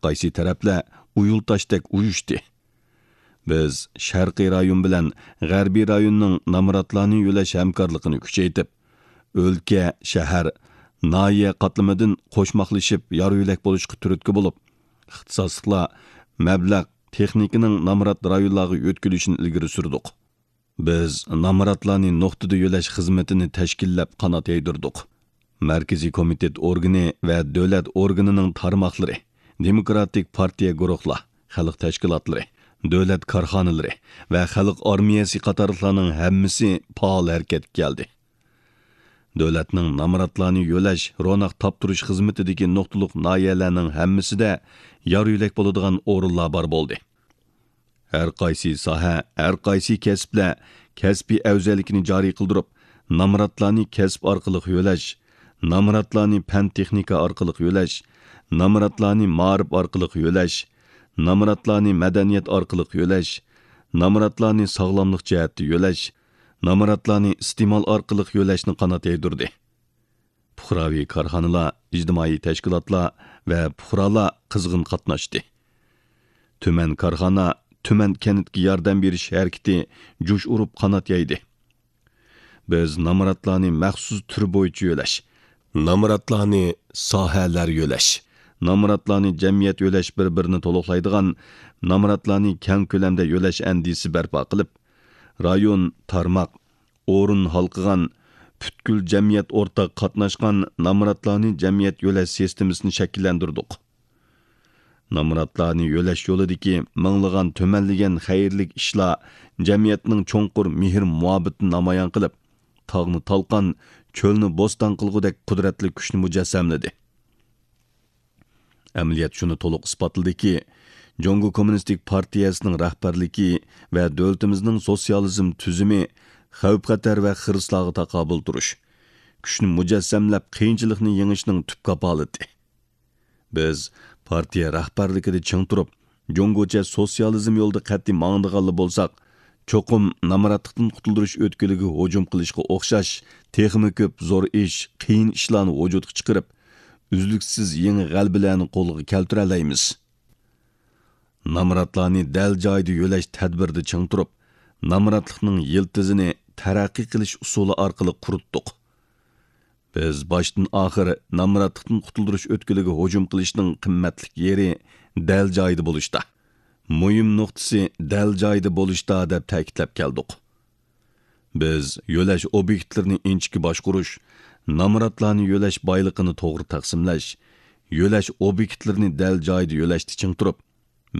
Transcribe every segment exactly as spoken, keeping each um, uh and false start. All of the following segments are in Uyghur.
قايسى تەرەپلەر ئۇيۇلتاشتەك ئۇيۇشتى. بىز شەرقىي رايون بىلەن غەربىي رايوننىڭ نامراتلارنى يۆلەش ھەمكارلىقىنى كۈچەيتىپ، ئۆلكە، شەھەر، ناھىيە قاتلىمىدىن قوشماقلىشىپ يار يۆلەك بولۇشقا تۈرتكە بولۇپ، ئىختىساسلىقلار، مەبلەغ، تېخنىكىنىڭ نامرات رايونلارغا يۆتكىلىشىنى ئىلگىرى سۈردۇق. بىز نامراتلارنى نۇقتىدا يۆلەش خىزمىتىنى تەشكىللەپ قانات يايدۇردۇق. مەركىزىي كومىتېت ئورگىنى ۋە دۆلەت ئورگىنىنىڭ تارماقلىرى، دېموكراتىك پارتىيە گۇرۇھلار، خەلق تەشكىلاتلىرى، دۆلەت كارخانىلىرى ۋە خەلق ئارمىيەسى قاتارلىقلارنىڭ ھەممىسى پائال ھەرىكەتكە كەلدى. دۆلەتنىڭ نامراتلارنى يۆلەش، روناق تاپتۇرۇش خىزمىتىدىكى نۇقتىلىق ناھىيەلەرنىڭ ھەممىسىدە يار يۆلەك بولىدىغان ئورۇنلار بار بولدى. ھەر قايسى ساھە، ھەر قايسى كەسىپلەر كەسپىي ئەۋزەللىكىنى جارى قىلدۇرۇپ، نامراتلارنى كەسىپ ئارقىلىق يۆلەش، نامراتلارنى پەن تېخنىكا ئارقىلىق يۆلەش، نامراتلارنى مائارىپ ئارقىلىق يۆلەش، نامراتلارنى مەدەنىيەت ئارقىلىق يۆلەش، نامراتلارنى ساغلاملىق جەھەتتە يۆلەش، نامراتلارنى ئىستېمال ئارقىلىق يۆلەشنى قانات يايدۇردى. پۇقراۋى كارخانىلار، ئىجتىمائىي تەشكىلاتلار ۋە پۇقرالار قىزغىن قاتناشتى. تۈمەن كارخانا، تۈمەن كەنتكە ياردەم بېرىش ھەرىكىتى جۇش ئۇرۇپ قانات يايدى. بىز نامراتلارنى مەخسۇس تۈر بويىچە يۆلەش، نامراتلارنى ساھەلەر يۆلەش، نامراتلارنى جەمئىيەت يۆلەش بىر-بىرىنى تولۇقلايدىغان، نامراتلارنى كەڭ كۆلەمدە يۆلەش ئەندىزىسى بەرپا قىلىپ، رايون، تارماق، ئورۇن ھالقىغان، پۈتكۈل جەمئىيەت ئورتاق قاتناشقان نامراتلارنى جەمئىيەت يۆلەش سىستېمىسىنى شەكىللەندۈردۇق. نامراتلارنى يۆلەش يولىدىكى مىڭلىغان تۈمەنلىگەن خەيرلىك ئىشلار جەمئىيەتنىڭ چوڭقۇر مېھىر-مۇھەببىتىنى نامايان قىلىپ، تاغنى تالقان، چۆلنى بوستان قىلغۇدەك قۇدرەتلىك كۈچنى مۇجەسسەملىدى. ئەمەلىيەت شۇنى تولۇق ئىسپاتلىدىكى، جۇڭگو كوممۇنىستىك پارتىيەسىنىڭ رەھبەرلىكى ۋە دۆلىتىمىزنىڭ سوتسىيالىزم تۈزۈمى خەۋپ-خەتەر ۋە خىرىسلارغا تاقابىل تۇرۇش، كۈچنى مۇجەسسەملەپ، قىيىنچىلىقنى يېڭىشنىڭ تۈپ كاپالىتى. بىز پارتىيە رەھبەرلىكىدە چىڭ تۇرۇپ، جۇڭگوچە سوتسىيالىزم يولىدا قەتئىي ماڭىدىغانلا بولساق، چوقۇم نامراتلىقتىن قۇتۇلدۇرۇش ئۆتكىلىگە ھۇجۇم قىلىشقا ئوخشاش تېخىمۇ كۆپ زور ئىش، قىيىن ئىشلارنى ۋۇجۇدقا چىقىرىپ، ئۈزلۈكسىز يېڭى غەلىبىلەرنى قولغا كەلتۈرەلەيمىز. نامراتلارنى دەل جايىدا يۆلەش تەدبىرىدە چىڭ تۇرۇپ، نامراتلىقنىڭ يىلتىزىنى تەرەققىي قىلىش ئۇسۇلى ئارقىلىق قۇرۇتتۇق. بىز باشتىن ئاخىر نامراتلىقتىن قۇتۇلدۇرۇش ئۆتكىلىگە ھۇجۇم قىلىشنىڭ قىممەتلىك يېرى دەل جايىدا بولۇشتا، مۇھىم نۇقتىسى دەل جايىدا بولۇشتا دەپ تەكىتلەپ كەلدۇق. بىز يۆلەش ئوبيېكتلىرىنى ئىنچىكە باشقۇرۇش، نامراتلارنى يۆلەش بايلىقىنى توغرا تەقسىملەش، يۆلەش ئوبيېكتلىرىنى دەل جايىدا يۆلەشتە چىڭ تۇرۇپ،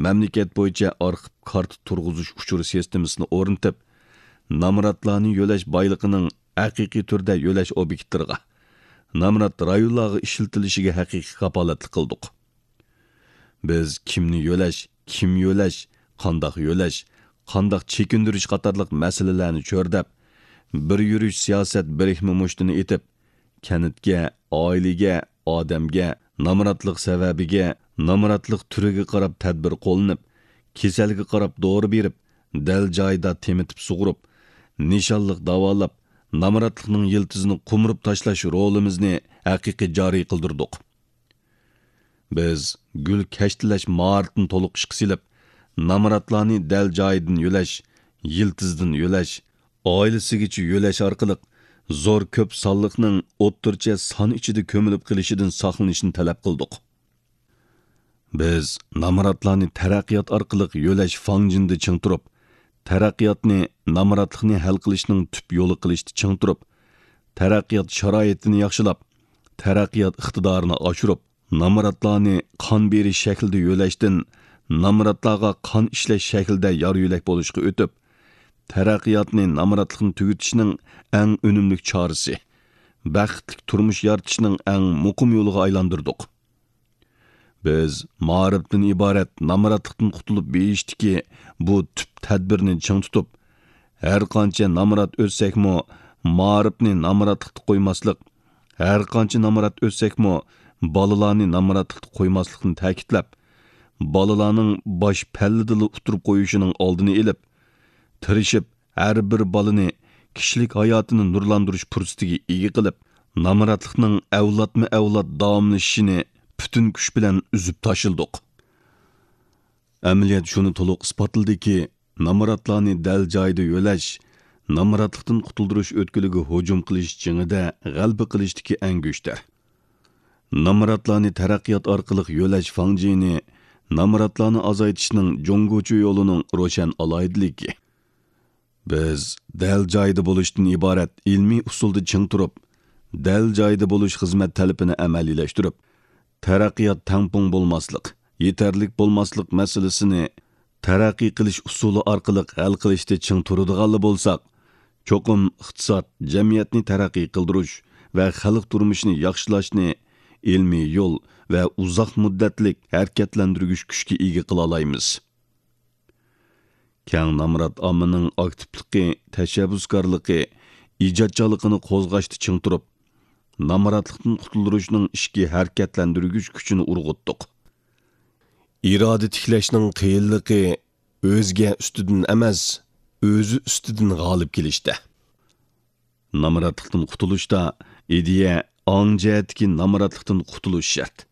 مەملىكەت بويىچە ئارخىپ كارتا تۇرغۇزۇش ئۇچۇر سىستېمىسىنى ئورنىتىپ، نامراتلارنى يۆلەش بايلىقىنىڭ ھەقىقىي تۈردە يۆلەش ئوبيېكتلىرىغا، نامرات رايونلارغا ئىشلىتىلىشىگە ھەقىقىي كاپالەتلىك قىلدۇق. بىز كىمنى يۆلەش، كىم يۆلەش، قانداق يۆلەش، قانداق چېكىندۈرۈش قاتارلىق مەسىلىلەرنى چۆرىدەپ، بىر يۈرۈش سىياسەت بىرىكمە مۇشتىنى ئېتىپ، كەنتكە، ئائىلىگە، ئادەمگە، نامراتلىق سەۋەبىگە، نامراتلىق تۈرىگە قاراپ تەدبىر قوللىنىپ، كېسەلگە قاراپ دورا بېرىپ، دەل جايىدا تېمىتىپ سۇغۇرۇپ، نىشانلىق داۋالاپ، نامراتلىقنىڭ يىلتىزىنى قومۇرۇپ تاشلاش رولىمىزنى ھەقىقىي جارى قىلدۇردۇق. بىز گۈل كەشتىلەش ماھارىتىنى تولۇق ئىشقا سېلىپ، نامراتلارنى دەل جايىدىن يۆلەش، يىلتىزدىن يۆلەش، ئائىلىسىگىچە يۆلەش ئارقىلىق زور كۆپ سانلىقنىڭ ئوتتۇرىچە سان ئىچىدە كۆمۈلۈپ قېلىشىدىن ساقلىنىشنى تەلەپ قىلدۇق. بىز نامراتلارنى تەرەققىيات ئارقىلىق يۆلەش فاڭجېنىدا چىڭ تۇرۇپ، تەرەققىياتنى نامراتلىقنى ھەل قىلىشنىڭ تۈپ يولى قىلىشتا چىڭ تۇرۇپ، تەرەققىيات شارائىتىنى ياخشىلاپ، تەرەققىيات ئىقتىدارىنى ئاشۇرۇپ، نامراتلارنى قان بېرىش شەكلىدە يۆلەشتىن نامراتلارغا قان ئىشلەش شەكلىدە يار يۆلەك بولۇشقا ئۆتۈپ، تەرەققىياتنى نامراتلىقنى تۈگىتىشنىڭ ئەڭ ئۈنۈملۈك چارىسى، بەختلىك تۇرمۇش يارىتىشنىڭ ئەڭ مۇقىم يولىغا ئايلاندۇردۇق. بىز مائارىپتىن ئىبارەت نامراتلىقتىن قۇتۇلۇپ بېيىشتىكى بۇ تۈپ تەدبىرنى چىڭ تۇتۇپ، ھەر قانچە نامرات ئۆتسەكمۇ، مائارىپنى نامراتلىقتا قويماسلىق، ھەر قانچە نامرات ئۆتسەكمۇ، بالىلارنى نامراتلىقتا قويماسلىقنى تەكىتلەپ، بالىلارنىڭ باش پەللىدىلا ئۇتتۇرۇپ قويۇشىنىڭ ئالدىنى ئېلىپ، تىرىشىپ، ھەر بىر بالىنى كىشىلىك ھاياتىنى نۇرلاندۇرۇش پۇرسىتىگە ئىگە قىلىپ، نامراتلىقنىڭ ئەۋلادمۇ ئەۋلاد داۋاملىشىشىنى پۈتۈن كۈچ بىلەن ئۈزۈپ تاشلىدۇق. ئەمەلىيەت شۇنى تولۇق ئىسپاتلىدىكى، نامراتلارنى دەل جايىدا يۆلەش، نامراتلىقتىن قۇتۇلدۇرۇش ئۆتكىلىگە ھۇجۇم قىلىش جېڭىدە غەلىبە قىلىشتىكى ئەڭگۈشتەر. نامراتلارنى تەرەققىيات ئارقىلىق يۆلەش فاڭجېنى نامراتلارنى ئازايتىشنىڭ جۇڭگوچە يولىنىڭ روشەن ئالاھىدىلىكى. بىز دەل جايىدا بولۇشتىن ئىبارەت ئىلمىي ئۇسۇلدا چىڭ تۇرۇپ، دەل جايىدا بولۇش خىزمەت تەلىپىنى ئەمەلىيلەشتۈرۈپ، تەرەققىيات تەڭپۇڭ بولماسلىق، يېتەرلىك بولماسلىق مەسىلىسىنى تەرەققىي قىلىش ئۇسۇلى ئارقىلىق ھەل قىلىشتا چىڭ تۇرىدىغانلا بولساق، چوقۇم ئىقتىساد، جەمئىيەتنى تەرەققىي قىلدۇرۇش ۋە خەلق تۇرمۇشىنى ياخشىلاشنى ئىلمىي يول ۋە ئۇزاق مۇددەتلىك ھەرىكەتلەندۈرگۈچ كۈچكە ئىگە قىلالايمىز. كەڭ نامرات ئاممىنىڭ ئاكتىپلىقى، تەشەببۇسكارلىقى، ئىجادچانلىقىنى قوزغاشتا چىڭ تۇرۇپ، نامراتلىقتىن قۇتۇلدۇرۇشنىڭ ئىچكى ھەرىكەتلەندۈرگۈچ كۈچىنى ئۇرغۇتتۇق. ئىرادە تىكلەشنىڭ قىيىنلىقى ئۆزگە ئۈستىدىن ئەمەس، ئۆزى ئۈستىدىن غالىب كېلىشتە. نامراتلىقتىن قۇتۇلۇشتا ئىدىيە، ئاڭ جەھەتتىكى نامراتلىقتىن قۇتۇلۇش شەرت.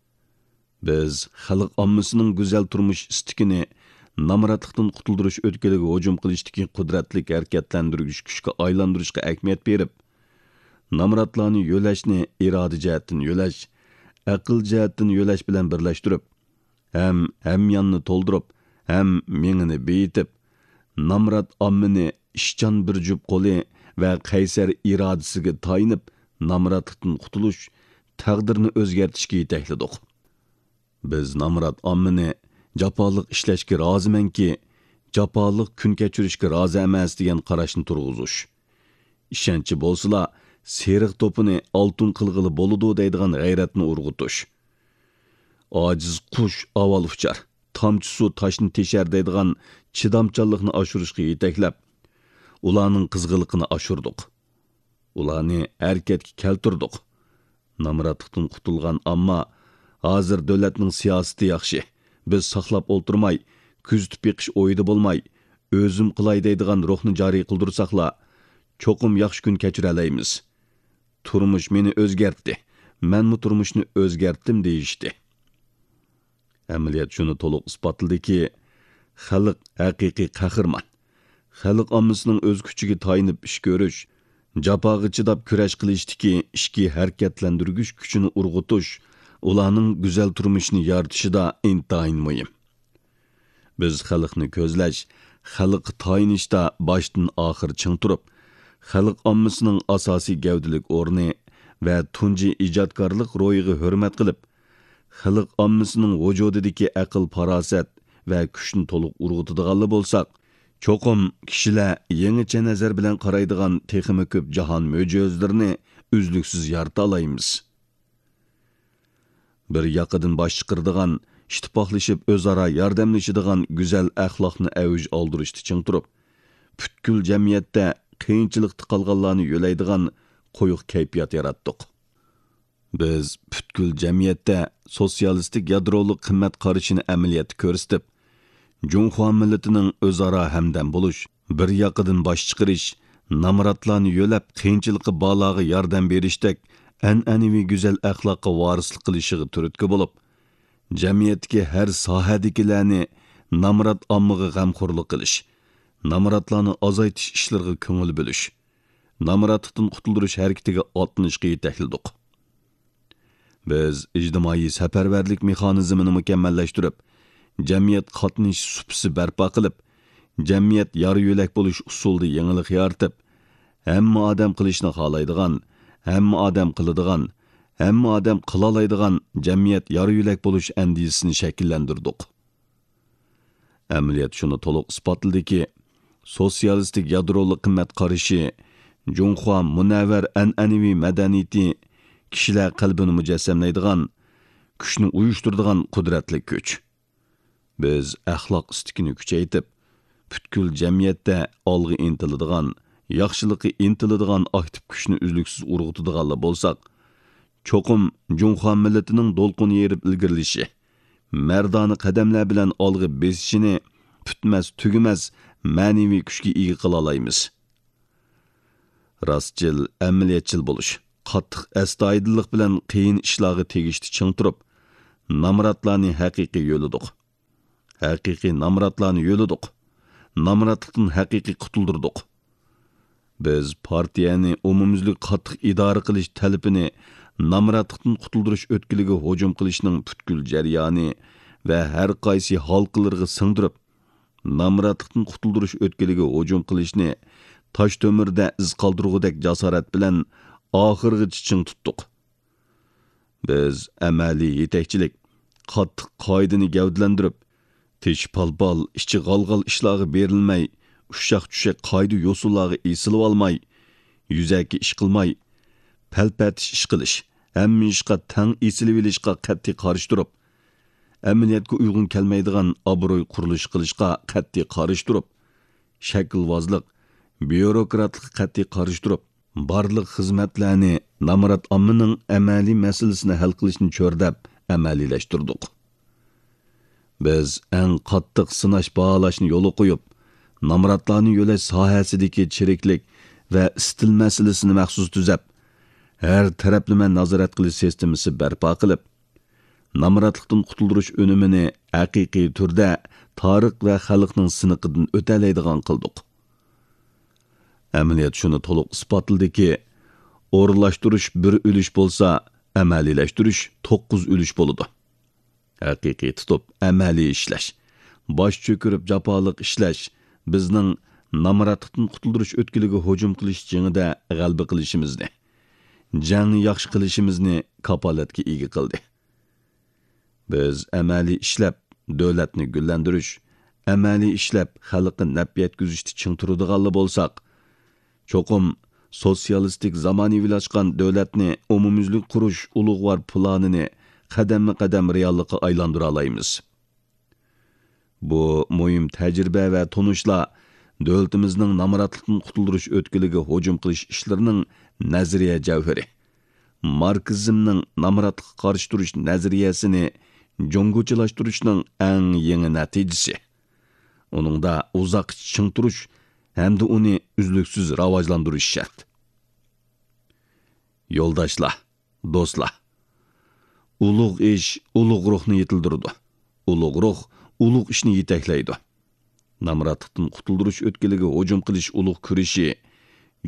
بىز خەلق ئاممىسىنىڭ گۈزەل تۇرمۇش ئىستىكىنى نامراتلىقتىن قۇتۇلدۇرۇش ئۆتكىلىگە ھۇجۇم قىلىشتىكى قۇدرەتلىك ھەرىكەتلەندۈرگۈچ كۈچكە ئايلاندۇرۇشقا ئەھمىيەت بېرىپ، نامراتلارنى يۆلەشنى ئىرادە جەھەتتىن يۆلەش، ئەقىل جەھەتتىن يۆلەش بىلەن بىرلەشتۈرۈپ، ھەم ھەمياننى تولدۇرۇپ، ھەم مېڭىنى بېيىتىپ، نامرات ئاممىنى ئىشچان بىر جۈپ قولى ۋە قەيسەر ئىرادىسىگە تايىنىپ، نامراتلىقتىن قۇتۇلۇش، تەقدىرنى ئۆزگەرتىشكە يېتەكلىدۇق. بىز نامرات ئاممىنى جاپالىق ئىشلەشكە رازىمەنكى، جاپالىق كۈن كەچۈرۈشكە رازى ئەمەس دېگەن قاراشنى تۇرغۇزۇش، ئىشەنچى بولسىلا، سېرىق توپىنى ئالتۇن قىلغىلى بولىدۇ دەيدىغان غەيرەتنى ئۇرغۇتۇش، ئاجىز قۇش ئاۋۋال ئۇچار، تامچە سۇ تاشنى تېشەر دەيدىغان چىدامچانلىقنى ئاشۇرۇشقا يېتەكلەپ، ئۇلارنىڭ قىزغىنلىقىنى ئاشۇردۇق. ئۇلارنى ھەرىكەتكە كەلتۈردۇق. نامراتلىقتىن قۇتۇلغان ئامما، ھازىر دۆلەتنىڭ سىياسىتى ياخشى، بىز ساقلاپ ئولتۇرماي، كۆزىتىپ بېقىش ئويىدا بولماي، ئۆزۈم قىلاي دەيدىغان روھنى جارى قىلدۇرساقلا، چوقۇم ياخشى كۈن كەچۈرەلەيمىز. تۇرمۇش مېنى ئۆزگەرتتى، مەنمۇ تۇرمۇشنى ئۆزگەرتتىم دېيىشتى. ئەمەلىيەت شۇنى تولۇق ئىسپاتلىدىكى، خەلق ھەقىقىي قەھرىمان. خەلق ئاممىسىنىڭ ئۆز كۈچىگە تايىنىپ ئىش كۆرۈش، جاپاغا چىداپ كۈرەش قىلىشتىكى ئىچكى ھەرىكەتلەندۈرگۈچ كۈچىنى ئۇرغۇتۇش، ئۇلارنىڭ گۈزەل تۇرمۇشىنى يارىتىشىدا ئىنتايىن مۇھىم. بىز خەلقنى كۆزلەش، خەلققە تايىنىشتا باشتىن ئاخىر چىڭ تۇرۇپ، خەلق ئاممىسىنىڭ ئاساسىي گەۋدىلىك ئورنى ۋە تۇنجى ئىجادكارلىق روھىغا ھۆرمەت قىلىپ، خەلق ئاممىسىنىڭ ۋۇجۇدىدىكى ئەقىل-پاراسەت ۋە كۈچنى تولۇق ئۇرغۇتىدىغانلا بولساق، چوقۇم كىشىلەر يېڭىچە نەزەر بىلەن قارايدىغان تېخىمۇ كۆپ جاھان مۆجىزىلىرىنى ئۈزلۈكسىز يارىتالايمىز. بىر ياقىدىن باش چىقىرىدىغان، ئىتتىپاقلىشىپ ئۆزئارا ياردەملىشىدىغان گۈزەل ئەخلاقنى ئەۋج ئالدۇرۇشتا چىڭ تۇرۇپ، پۈتكۈل جەمئىيەتتە قىيىنچىلىقتا قالغانلارنى يۆلەيدىغان قويۇق كەيپىيات ياراتتۇق. بىز پۈتكۈل جەمئىيەتتە سوتسىيالىستىك يادرولۇق قىممەت قارىشىنى ئەمەلىيەتتە كۆرسىتىپ، جۇڭخۇا مىللىتىنىڭ ئۆزئارا ھەمدەم بولۇش، بىر ياقىدىن باش چىقىرىش، نامراتلارنى يۆلەپ، قىيىنچىلىقى بارلارغا ياردەم بېرىشتەك ئەنئەنىۋى گۈزەل ئەخلاققا ۋارىسلىق قىلىشىغا تۈرتكە بولۇپ، جەمئىيەتتىكى ھەر ساھەدىكىلەرنى نامرات ئاممىغا غەمخورلۇق قىلىش، نامراتلارنى ئازايتىش ئىشلىرىغا كۆڭۈل بۆلۈش، نامراتلىقتىن قۇتۇلدۇرۇش ھەرىكىتىگە ئاتلىنىشقا يېتەكلىدۇق. بىز ئىجتىمائىي سەپەرۋەرلىك مېخانىزمىنى مۇكەممەللەشتۈرۈپ، جەمئىيەت قاتنىشىش سۇپىسى بەرپا قىلىپ، جەمئىيەت يار-يۆلەك بولۇش ئۇسۇلىدا يېڭىلىق يارىتىپ، ھەممە ئادەم قىلىشنى خالايدىغان، ھەممە ئادەم قىلىدىغان، ھەممە ئادەم قىلالايدىغان جەمئىيەت يار-يۆلەك بولۇش ئەندىزىسىنى شەكىللەندۈردۇق. ئەمەلىيەت شۇنى تولۇق ئىسپاتلىدىكى، سوتسىيالىستىك يادرولۇق قىممەت قارىشى جۇڭخۇا مۇنەۋۋەر ئەنئەنىۋى مەدەنىيىتى كىشىلەر قەلبىنى مۇجەسسەملەيدىغان، كۈچنى ئۇيۇشتۇرىدىغان قۇدرەتلىك كۈچ. بىز ئەخلاق ئىستىكىنى كۈچەيتىپ، پۈتكۈل جەمئىيەتتە ئالغا ئىنتىلىدىغان، ياخشىلىققا ئىنتىلىدىغان ئاكتىپ كۈچنى ئۈزلۈكسىز ئۇرغۇتىدىغانلا بولساق، چوقۇم جۇڭخۇا مىللىتىنىڭ دولقۇن يېرىپ ئىلگىرىلىشى، مەردانە قەدەملەر بىلەن ئالغا بېسىشىنى پۈتمەس-تۈگىمەس مەنىۋى كۈچكە ئىگە قىلالايمىز. راستچىل، ئەمەلىيەتچىل بولۇش، قاتتىق ئەستايىدىللىق بىلەن قىيىن ئىشلارغا تېگىشتە چىڭ تۇرۇپ، نامراتلارنى ھەقىقىي يۆلىدۇق. ھەقىقىي نامراتلارنى يۆلىدۇق. نامراتلىقتىن ھەقىقىي قۇتۇلدۇردۇق. بىز پارتىيەنى ئومۇميۈزلۈك قاتتىق ئىدارە قىلىش تەلىپىنى نامراتلىقتىن قۇتۇلدۇرۇش ئۆتكىلىگە ھۇجۇم قىلىشنىڭ پۈتكۈل جەريانى ۋە ھەر قايسى ھالقىلىرىغا سىڭدۈرۈپ، نامراتلىقتىن قۇتۇلدۇرۇش ئۆتكىلىگە ھۇجۇم قىلىشنى تاش تۆمۈردە ئىز قالدۇرغۇدەك جاسارەت بىلەن ئاخىرغىچە چىڭ تۇتتۇق. بىز ئەمەلىي يېتەكچىلىك، قاتتىق قائىدىنى گەۋدىلەندۈرۈپ، تېشى پالپال، ئىچى غالغال ئىشلارغا بېرىلمەي، ئۇششاق-چۈششەك قائىدە-يوسۇنلارغا ئېسىلىۋالماي، يۈزەكى ئىش قىلماي، پەلپەتىش ئىش قىلىش، ھەممە ئىشقا تەڭ ئېسىلىۋېلىشقا قەتئىي قارشى تۇرۇپ، ئەمەلىيەتكە ئۇيغۇن كەلمەيدىغان ئابرۇي قۇرۇلۇشى قىلىشقا قەتئىي قارشى تۇرۇپ، شەكىلۋازلىق، بيۇروكراتلىققا قەتئىي قارشى تۇرۇپ، بارلىق خىزمەتلەرنى نامرات ئاممىنىڭ ئەمەلىي مەسىلىسىنى ھەل قىلىشنى چۆرىدەپ ئەمەلىيلەشتۈردۇق. بىز ئەڭ قاتتىق سىناش باھالاشنى يولغا قويۇپ، نامراتلارنى يۆلەش ساھەسىدىكى چىرىكلىك ۋە ئىستىل مەسىلىسىنى مەخسۇس تۈزەپ، ھەر تەرەپلىمە نازارەت قىلىش سىستېمىسى بەرپا قىلىپ، نامراتلىقتىن قۇتۇلدۇرۇش ئۈنۈمىنى ھەقىقىي تۈردە تارىخ ۋە خەلقنىڭ سىنىقىدىن ئۆتەلەيدىغان قىلدۇق. ئەمەلىيەت شۇنى تولۇق ئىسپاتلىدىكى، ئورۇنلاشتۇرۇش بىر ئۈلۈش بولسا، ئەمەلىيلەشتۈرۈش توققۇز ئۈلۈش بولىدۇ. ھەقىقىي تۇتۇپ ئەمەلىي ئىشلەش، باش چۆكۈرۈپ جاپالىق ئىشلەش بىزنىڭ نامراتلىقتىن قۇتۇلدۇرۇش ئۆتكىلىگە ھۇجۇم قىلىش جېڭىدە غەلىبە قىلىشىمىزنى، جەڭنى ياخشى قىلىشىمىزنى كاپالەتكە ئىگە قىلدى. بىز ئەمەلىي ئىشلەپ، دۆلەتنى گۈللەندۈرۈش، ئەمەلىي ئىشلەپ، خەلققە نەپ يەتكۈزۈشتە چىڭ تۇرىدىغانلا بولساق، چوقۇم سوتسىيالىستىك زامانىۋىلاشقان دۆلەتنى ئومۇميۈزلۈك قۇرۇش ئۇلۇغۋار پىلانىنى قەدەممۇ قەدەم رېئاللىققا ئايلاندۇرالايمىز. بۇ مۇھىم تەجرىبە ۋە تونۇشلار دۆلىتىمىزنىڭ نامراتلىقتىن قۇتۇلدۇرۇش ئۆتكىلىگە ھۇجۇم قىلىش ئىشلىرىنىڭ نەزەرىيە جەۋھىرى، ماركسىزمنىڭ نامراتلىققا قارشى تۇرۇش نەزەرىيەسىنى جۇڭگوچىلاشتۇرۇشنىڭ ئەڭ يېڭى نەتىجىسى. ئۇنىڭدا ئۇزاققىچە چىڭ تۇرۇش ھەمدە ئۇنى ئۈزلۈكسىز راۋاجلاندۇرۇش شەرت. يولداشلار، دوستلار! ئۇلۇغ ئىش ئۇلۇغ روھنى يېتىلدۈرىدۇ. ئۇلۇغ روھ ئۇلۇغ ئىشنى يېتەكلەيدۇ. نامراتلىقتىن قۇتۇلدۇرۇش ئۆتكىلىگە ھۇجۇم قىلىش ئۇلۇغ كۈرىشى،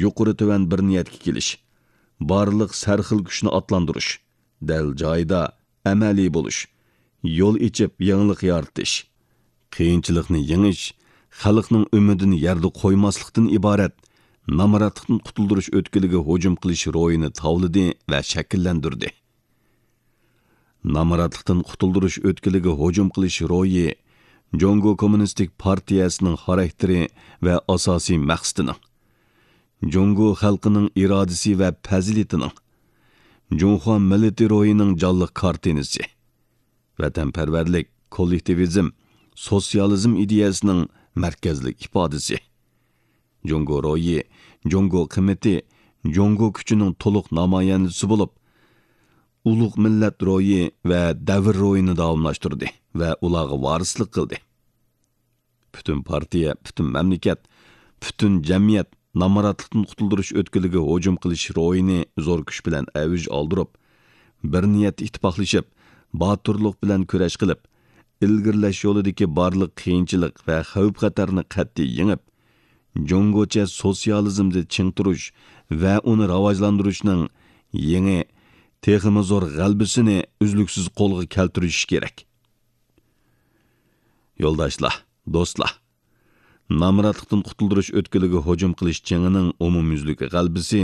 يۇقىرى تۆۋەن بىر نىيەتكە كېلىش، بارلىق سەرخىل كۈچنى ئاتلاندۇرۇش، دەل جايىدا ئەمەلىي بولۇش، يول ئېچىپ يېڭىلىق يارىتىش، قىيىنچىلىقنى يېڭىش، خەلقنىڭ ئۈمىدىنى يەردە قويماسلىقتىن ئىبارەت نامراتلىقتىن قۇتۇلدۇرۇش ئۆتكىلىگە ھۇجۇم قىلىش روھىنى تاۋلىدى ۋە شەكىللەندۈردى. نامراتلىقتىن قۇتۇلدۇرۇش ئۆتكىلىگە ھۇجۇم قىلىش روھى جۇڭگو كوممۇنىستىك پارتىيەسىنىڭ خاراكتېرى ۋە ئاساسىي مەقسىتىنىڭ، جۇڭگو خەلقىنىڭ ئىرادىسى ۋە پەزىلىتىنىڭ، جۇڭخۇا مىللىتى روھىنىڭ جانلىق كارتىنىسى، ۋەتەنپەرۋەرلىك، كوللېكتىۋىزم، سوتسىيالىزم ئىدىيەسىنىڭ مەركەزلىك ئىپادىسى. جۇڭگو روھى، جۇڭگو قىممىتى، جۇڭگو كۈچىنىڭ تولۇق نامايەندىسى بولۇپ، ئۇلۇغ مىللەت روھى ۋە دەۋر روھىنى داۋاملاشتۇردى ۋە ئۇلارغا ۋارىسلىق قىلدى. پۈتۈن پارتىيە، پۈتۈن مەملىكەت، پۈتۈن جەمئىيەت نامراتلىقتىن قۇتۇلدۇرۇش ئۆتكىلىگە ھۇجۇم قىلىش روھىنى زور كۈچ بىلەن ئەۋج ئالدۇرۇپ، بىر نىيەتتە ئىتتىپاقلىشىپ، باتۇرلۇق بىلەن كۈرەش قىلىپ، ئىلگىرىلەش يولىدىكى بارلىق قىيىنچىلىق ۋە خەۋپ-خەتەرنى قەتئىي يېڭىپ، جۇڭگوچە سوتسىيالىزمدا چىڭ تۇرۇش ۋە ئۇنى راۋاجلاندۇرۇشنىڭ يېڭى، تېخىمۇ زور غەلىبىسىنى ئۈزلۈكسىز قولغا كەلتۈرۈش كېرەك. يولداشلار، دوستلار! نامراتلىقتىن قۇتۇلدۇرۇش ئۆتكىلىگە ھۇجۇم قىلىش جېڭىنىڭ ئومۇميۈزلۈك غەلىبىسى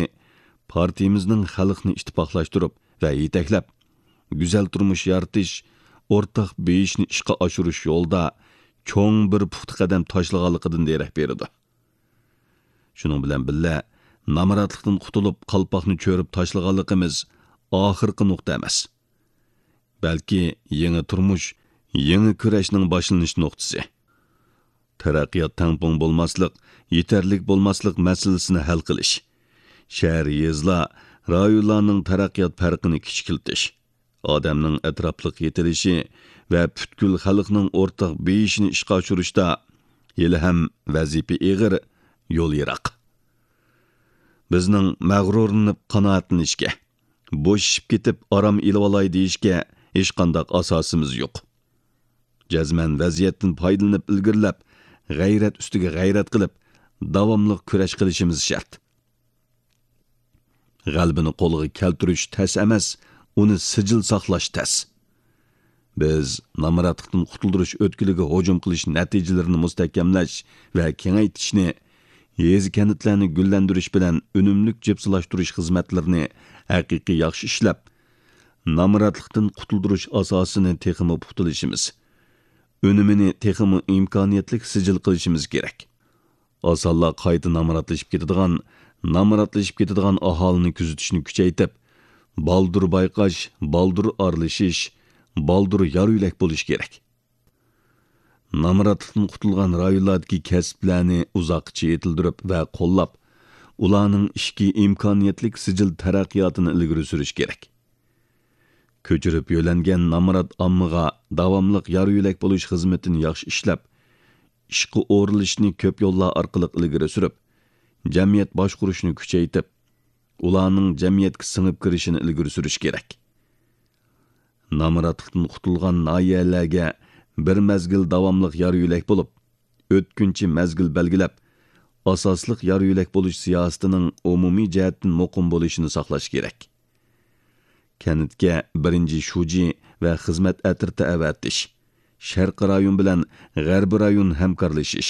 پارتىيىمىزنىڭ خەلقنى ئىتتىپاقلاشتۇرۇپ ۋە يېتەكلەپ، گۈزەل تۇرمۇش يارىتىش، ئورتاق بېيىشنى ئىشقا ئاشۇرۇش يولىدا چوڭ بىر پۇختا قەدەم تاشلىغانلىقىدىن دېرەك بېرىدۇ. شۇنىڭ بىلەن بىللە، نامراتلىقتىن قۇتۇلۇپ، قالپاقنى چۆرۈپ تاشلىغانلىقىمىز ئاخىرقى نۇقتا ئەمەس. بەلكى يېڭى تۇرمۇش، يېڭى كۈرەشنىڭ باشلىنىش نۇقتىسى. تەرەققىيات تەڭپۇڭ بولماسلىق، يېتەرلىك بولماسلىق مەسىلىسىنى ھەل قىلىش، شەھەر، يېزىلار، رايونلارنىڭ تەرەققىيات پەرقىنى كىچىكلىتىش، ئادەمنىڭ ئەتراپلىق يېتىلىشى ۋە پۈتكۈل خەلقنىڭ ئورتاق بېيىشىنى ئىشقا ئاشۇرۇشتا ھېلىھەم ۋەزىپە ئېغىر، يول يىراق. بىزنىڭ مەغرۇرلىنىپ قانائەتلىنىشكە، بوشىشىپ كېتىپ ئارام ئېلىۋالاي دېيىشكە ھېچقانداق ئاساسىمىز يوق. جەزمەن ۋەزىيەتتىن پايدىلىنىپ ئىلگىرىلەپ، غەيرەت ئۈستىگە غەيرەت قىلىپ، داۋاملىق كۈرەش قىلىشىمىز شەرت. غەلىبىنى قولغا كەلتۈرۈش تەس ئەمەس، ئۇنى سىجىل ساقلاش تەس. بىز نامراتلىقتىن قۇتۇلدۇرۇش ئۆتكىلىگە ھۇجۇم قىلىش نەتىجىلىرىنى مۇستەھكەملەش ۋە كېڭەيتىشنى، يېزا-كەنتلەرنى گۈللەندۈرۈش بىلەن ئۈنۈملۈك جىپسىلاشتۇرۇش خىزمەتلىرىنى ھەقىقىي ياخشى ئىشلەپ، نامراتلىقتىن قۇتۇلدۇرۇش ئاساسىنى تېخىمۇ پۇختىلىشىمىز، ئۈنۈمىنى تېخىمۇ ئىمكانىيەتلىك سىجىل قىلىشىمىز كېرەك. ئاسانلا قايتا نامراتلىشىپ كېتىدىغان، نامراتلىشىپ كېتىدىغان ئاھالىنى كۆزىتىشنى كۈچەيتىپ، بالدۇر بايقاش، بالدۇر ئارىلىشىش، بالدۇر يار يۆلەك بولۇش كېرەك. نامراتلىقتىن قۇتۇلغان رايونلاردىكى كەسىپلەرنى ئۇزاققىچە يېتىلدۈرۈپ ۋە قوللاپ، ئۇلارنىڭ ئىچكى ئىمكانىيەتلىك سىجىل تەرەققىياتىنى ئىلگىرى سۈرۈش كېرەك. كۆچۈرۈپ يۆلەنگەن نامرات ئاممىغا داۋاملىق يار يۆلەك بولۇش خىزمىتىنى ياخشى ئىشلەپ، ئىشقا ئورۇنلىشىشنى كۆپ يوللار ئارقىلىق ئىلگىرى سۈرۈپ، جەمئىيەت باشقۇرۇشنى كۈچەيتىپ، ئۇلارنىڭ جەمئىيەتكە سىڭىپ كىرىشىنى ئىلگىرى سۈرۈش كېرەك. نامراتلىقتىن قۇتۇلغان ناھىيەلەرگە بىر مەزگىل داۋاملىق يار يۆلەك بولۇپ، ئۆتكۈنچى مەزگىل بەلگىلەپ، ئاساسلىق يار يۆلەك بولۇش سىياسىتىنىڭ ئومۇمىي جەھەتتىن مۇقىم بولۇشىنى ساقلاش كېرەك. كەنتكە بىرىنچى شۇجى ۋە خىزمەت ئەترىتى ئەۋەتىش، شەرقىي رايون بىلەن غەربىي رايون ھەمكارلىشىش،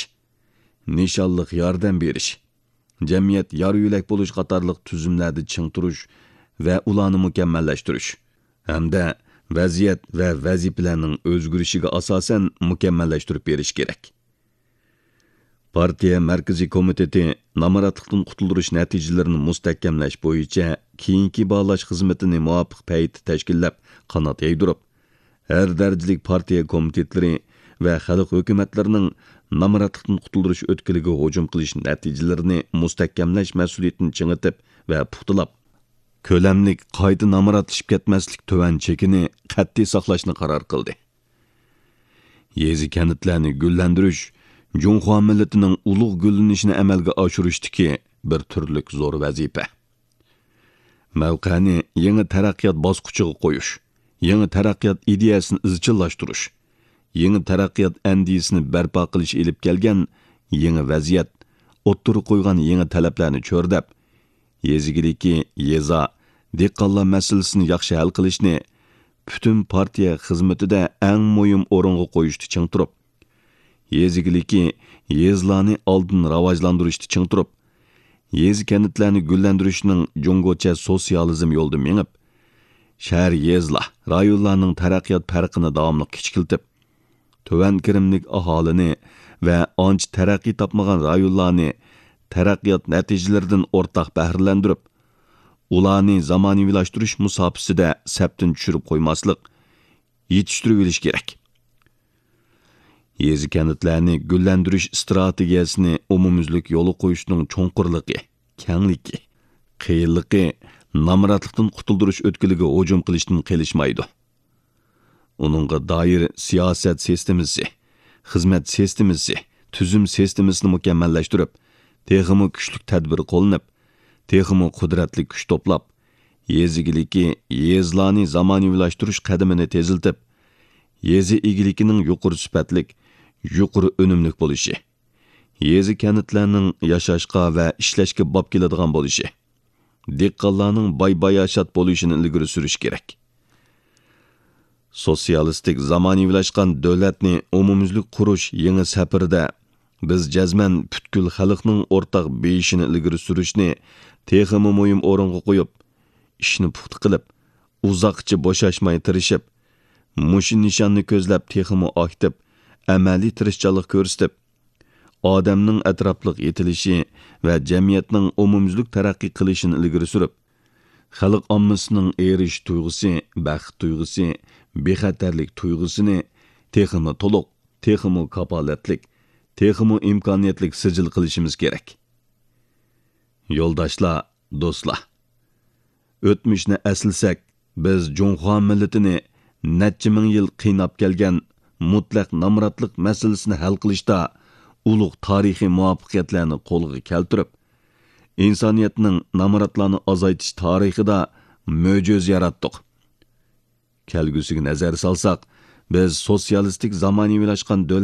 نىشانلىق ياردەم بېرىش، جەمئىيەت يار يۆلەك بولۇش قاتارلىق تۈزۈملەردە چىڭ تۇرۇش ۋە ئۇلارنى مۇكەممەللەشتۈرۈش ھەمدە ۋەزىيەت ۋە ۋەزىپىلەرنىڭ ئۆزگىرىشىگە ئاساسەن مۇكەممەللەشتۈرۈپ بېرىش كېرەك. پارتىيە مەركىزىي كومىتېتى نامراتلىقتىن قۇتۇلدۇرۇش نەتىجىلىرىنى مۇستەھكەملەش بويىچە كېيىنكى باھالاش خىزمىتىنى مۇۋاپىق پەيتتە تەشكىللەپ، قانات يايدۇرۇپ، ھەر دەرىجىلىك پارتىيە كومىتېتلىرى ۋە خەلق ھۆكۈمەتلىرىنىڭ نامراتلىقتىن قۇتۇلدۇرۇش ئۆتكىلىگە ھۇجۇم قىلىش نەتىجىلىرىنى مۇستەھكەملەش مەسئۇلىيىتىنى چىڭىتىپ ۋە پۇختىلاپ، كۆلەملىك قايتا نامراتلىشىپ كەتمەسلىك تۆۋەن چېكىنى قەتئىي ساقلاشنى قارار قىلدى. يېزا-كەنتلەرنى گۈللەندۈرۈش جۇڭخۇا مىللىتىنىڭ ئۇلۇغ گۈللىنىشىنى ئەمەلگە ئاشۇرۇشتىكى بىر تۈرلۈك زور ۋەزىپە. مەۋقەنى يېڭى تەرەققىيات باسقۇچىغا قويۇش، يېڭى تەرەققىيات ئىدىيەسىنى ئىزچىللاشتۇرۇش، يېڭى تەرەققىيات ئەندىزىسىنى بەرپا قىلىش ئېلىپ كەلگەن يېڭى ۋەزىيەت، ئوتتۇرىغا قويغان يېڭى تەلەپلەرنى چۆرىدەپ، يېزا ئىگىلىكى، يېزا، دېھقانلار مەسىلىسىنى ياخشى ھەل قىلىشنى پۈتۈن پارتىيە خىزمىتىدە ئەڭ مۇھىم ئورۇنغا قويۇشتا چىڭ تۇرۇپ، يېزا ئىگىلىكى، يېزىلارنى ئالدىن راۋاجلاندۇرۇشتا چىڭ تۇرۇپ، يېزا-كەنتلەرنى گۈللەندۈرۈشنىڭ جۇڭگوچە سوتسىيالىزم يولىدا مېڭىپ، شەھەر، يېزىلار، رايونلارنىڭ تەرەققىيات پەرقىنى داۋاملىق كىچىكلىتىپ، تۆۋەن كىرىملىك ئاھالىنى ۋە ئانچە تەرەققىي تاپمىغان رايونلارنى تەرەققىيات نەتىجىلىرىدىن ئورتاق بەھرىلەندۈرۈپ، ئۇلارنى زامانىۋىلاشتۇرۇش مۇساپىسىدە سەپتىن چۈشۈرۈپ قويماسلىق، يېتىشتۈرۈۋېلىش كېرەك. يېزا-كەنتلەرنى گۈللەندۈرۈش ئىستراتېگىيەسىنى ئومۇميۈزلۈك يولغا قويۇشنىڭ چوڭقۇرلۇقى، كەڭلىكى، قىيىنلىقى نامراتلىقتىن قۇتۇلدۇرۇش ئۆتكىلىگە ھۇجۇم قىلىشتىن قېلىشمايدۇ. ئۇنىڭغا دائىر سىياسەت سىستېمىسى، خىزمەت سىستېمىسى، تۈزۈم سىستېمىسىنى مۇكەممەللەشتۈرۈپ، تېخىمۇ كۈچلۈك تەدبىر قوللىنىپ، تېخىمۇ قۇدرەتلىك كۈچ توپلاپ، يېزا ئىگىلىكى، يېزىلارنى زامانىۋىلاشتۇرۇش قەدىمىنى تېزلىتىپ، يېزا ئىگىلىكىنىڭ يۇقىرى سۈپەتلىك، يۇقىرى ئۈنۈملۈك بولۇشى، يېزا-كەنتلەرنىڭ ياشاشقا ۋە ئىشلەشكە باب كېلىدىغان بولۇشى، دېھقانلارنىڭ باي-باياشات بولۇشىنى ئىلگىرى سۈرۈش كېرەك. سوتسىيالىستىك زامانىۋىلاشقان دۆلەتنى ئومۇميۈزلۈك قۇرۇش يېڭى سەپىرىدە بىز جەزمەن پۈتكۈل خەلقنىڭ ئورتاق بېيىشىنى ئىلگىرى سۈرۈشنى تېخىمۇ مۇھىم ئورۇنغا قويۇپ، ئىشنى پۇختا قىلىپ، ئۇزاققىچە بوشاشماي تىرىشىپ، مۇشۇ نىشاننى كۆزلەپ تېخىمۇ ئاكتىپ، ئەمەلىي تىرىشچانلىق كۆرسىتىپ، ئادەمنىڭ ئەتراپلىق يېتىلىشى ۋە جەمئىيەتنىڭ ئومۇميۈزلۈك تەرەققىي قىلىشىنى ئىلگىرى سۈرۈپ، خەلق ئاممىسىنىڭ ئېرىشىش تۇيغۇسى، بەخت تۇيغۇسى، بىخەتەرلىك تۇيغۇسىنى تېخىمۇ تولۇق، تېخىمۇ كاپالەتلىك، تېخىمۇ ئىمكانىيەتلىك سىجىل قىلىشىمىز كېرەك. يولداشلار، دوستلار! ئۆتمۈشنى ئەسلىسەك، بىز جۇڭخۇا مىللىتىنى نەچچە مىڭ يىل قىيناپ كەلگەن مۇتلەق نامراتلىق مەسىلىسىنى ھەل قىلىشتا ئۇلۇغ تارىخىي مۇۋەپپەقىيەتلەرنى قولغا كەلتۈرۈپ، ئىنسانىيەتنىڭ نامراتلارنى ئازايتىش تارىخىدا مۆجىزە ياراتتۇق. كەلگۈسىگە نەزەر سالساق، بىز سوتسىيالىستىك زامانىۋىلاشقان دۆلەت